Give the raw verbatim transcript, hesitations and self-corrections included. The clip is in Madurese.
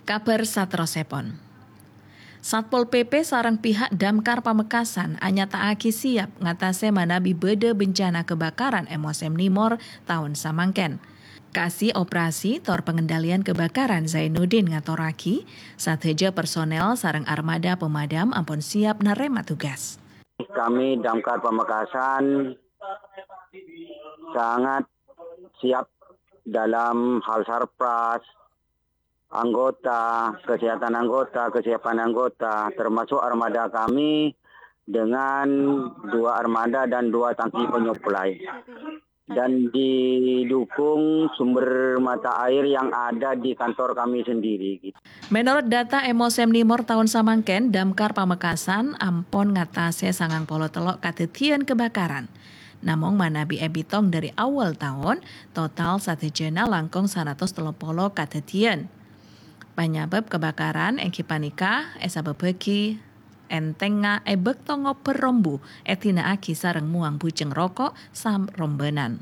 Kabhâr saterrossèpon. Satpol P P sareng pihak Damkar Pamekasan anyata'aghi siap ngatasè manabi bâdâ bencana kebakaran è mosèm Nimor taon samangkèn. Kasi Operasi tor Pengendalian Kebakaran Zainuddin ngatorraghi, sadhâjâ personel sareng armada pemadam ampon siap narèma tugas. Kami Damkar Pamekasan sangat siap dalam hal sarpras, anggota, kesehatan anggota, kesiapan anggota, termasuk armada kami dengan dua armada dan dua tangki penyuplai. Dan didukung sumber mata air yang ada di kantor kami sendiri. Menurut data è mosèm Nimor taon samangkèn, Damkar Pamekasan ampon ngatasè sangang polo tello' kadhâddhiyân kebakaran. Namong manabi èbitong dâri awal taon, total sadhâjâna langkong saratos tello polo kadhâddhiyân. Panyabâb kebakaran èngghi panèka èsabâbbhâghi èntengnga è bâkto ngobâr rombu èdina'aghi sareng mowang bujeng roko' sarombânan.